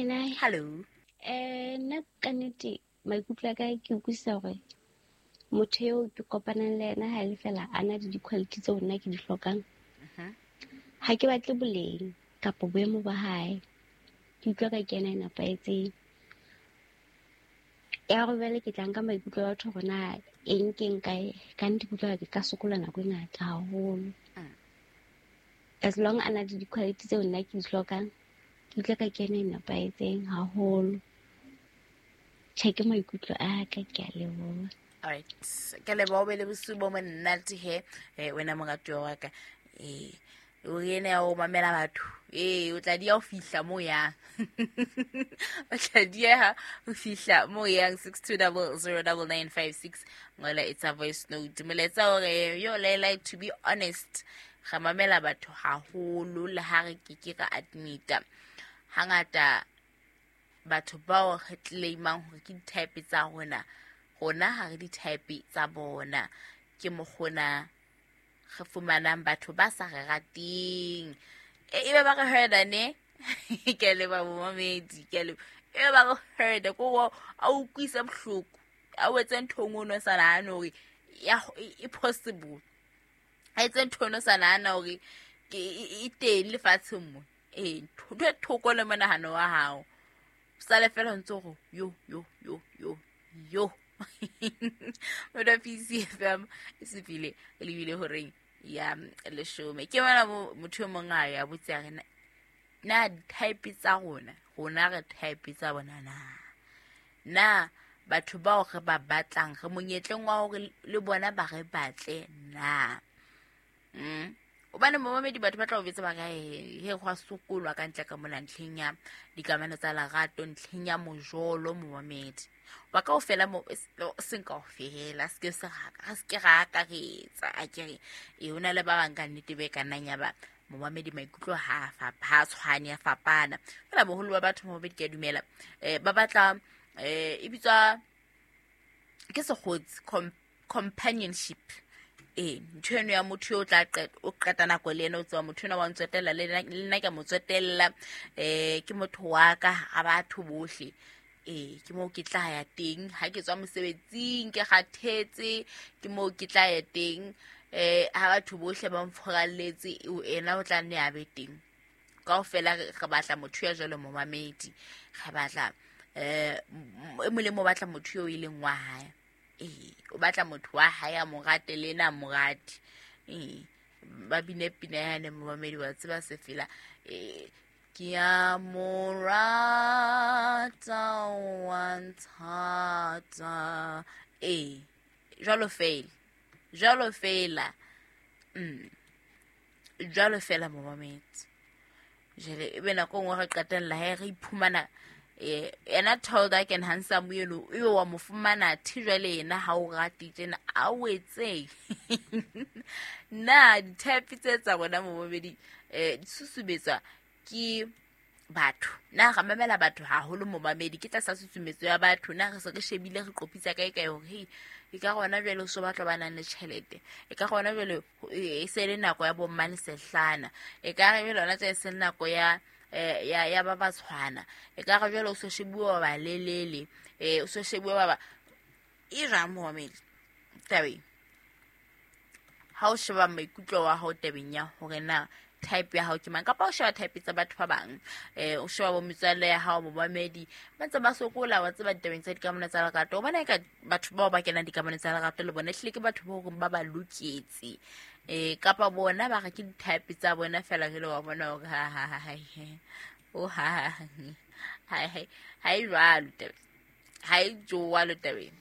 Laila. Hello. Nna ka nnete maikutlo a ka ke utlwisisa hore motho eo ke kopanang le ena ha e le fela a na le di-quality tseo nna ke di hlokang. Ha ke batle boleng kapa boemo ba hae. Ke utlwa ka ke ena e nepahetseng. Ya gore jwale ke tla nka maikutlo a batho hore na eng ke nka ka nnete ke utlwa ke ka sokola nako e ngata haholo. As long a na le di-quality tseo nna ke di hlokang, ke utlwa ka ke ena e nepahetseng haholo. Tjhe, ke maikutlo a ka, ke a leboha. Alright, ke leboha o be le bosiu bo monate he, wena moratuwa wa ka. O ene ya o mamela batho. O tla dia ho fihla mo yang. O tla dieha ho fihla mo yang. 62009956. Ngola it's a voice note. Molaetsa hore yo Laila, to be honest, re mamela batho haholo le ha re ke ke ra admita. Hangata batho bao re claimang hore ke di-type tsa rona, rona ha re di-type tsa bona. Ke mokgona re fumanang batho ba sa re rateng. E be ba re herda ne? Ke a leboha momamedi, ke a leboha. E be ba re herda, ke hore a utlwise bohloko, a o etse ntho e nngwe o no sa nahane hore e possible. A etse ntho o no sa nahana hore e teng lefatsheng mo. Ntho e thoko le monahano wa hao. Sale fela o ntse o re, yo, yo, yo, yo, yo. Motho PCFM e sepile e lebile horeng ya leshome. Ke bona motho e mong a ya botse a re, na di-type tsa rona, rona re type tsa bona na? Na batho bao re ba batlang, re monyetleng wa hore le bona ba re batle na? Hobane momamedi batho ba tla o betsa ba re, he, he, hwa sokolwa ka ntle ka mona ntlheng ya dikamano tsa lerato, ntlheng ya mojolo momamedi. Ba kaofela mo, seng kaofela, se ke se ra, re se ke ra akaretsa, a ke re, ho na le ba bang ka nnete be ka nnang ya ba momamedi maikutlo ha a ha a tshwane, a fapana. Fela boholo ba batho momamedi ke a dumela, ba batla, e bitswa ke sekgotsi, companionship. Ntho eno ya motho yo o tla o qeta nako le ena, o tseba motho ena wa ntsotella, le nna ke a mo tsotella, ke motho wa ka ha batho bohle. Ke moo ke tla ya teng ha ke tswa mosebetsing, ke kgathetse, ke moo ke tla ya teng. Ha batho bohle ba mfuralletse, ena o tla nne a be teng. Kaofela re batla motho ya jwalo momamedi, re batla, e molemo o batla motho eo e leng wa hae. O batla motho wa hae a mo rate le ena a mo rate. Ba bine pina yane momamedi wa tseba se fela. Ke a mo rata, wa nthata. Jwalo fela. Jwalo fela. Jwalo fela momamedi. Jwale e be nako e nngwe re qetella he re iphumana, ena tall dark and handsome eno, ebe wa mo fumana thi jwale yena ha o rate tjena, a o etseng? Na di-type tse tsa rona momamedi, di susumetswa ke batho? Na re mamela batho haholo momamedi? Ke tlasa susumetso ya batho. Na re se re shebile, re qopitsa kae kae hore, hei, e ka rona jwale o so batla ba nang le tjhelete, e ka rona jwale e se le nako ya bo mmane sehlana, e ka re jwale hona tje e se le nako ya ba batshwana, e ka re jwale o so shebuwa ba balelele, o so shebuwa ba ba e jwang momamedi tabeng? Ha o sheba maikutlo wa hao tabeng ya hore na type ya hao ke mang, kapa o sheba type tsa batho ba bang, o sheba bo metswalle ya hao momamedi, ba ntse ba sokola wa tseba ditabeng tsa dikamano tsa lerato. Hobane eka batho bao ba kenang dikamano tsa lerato le bona ehlile ke batho ba horeng ba ba loketse, kapa bona ba re ke di-type tsa bona fela jwale wa bona hore ha, ha, ha, ha, he. O, ha, ha, ha, ha, ha, ha e jwalo tabeng. Ha e jwalo tabeng.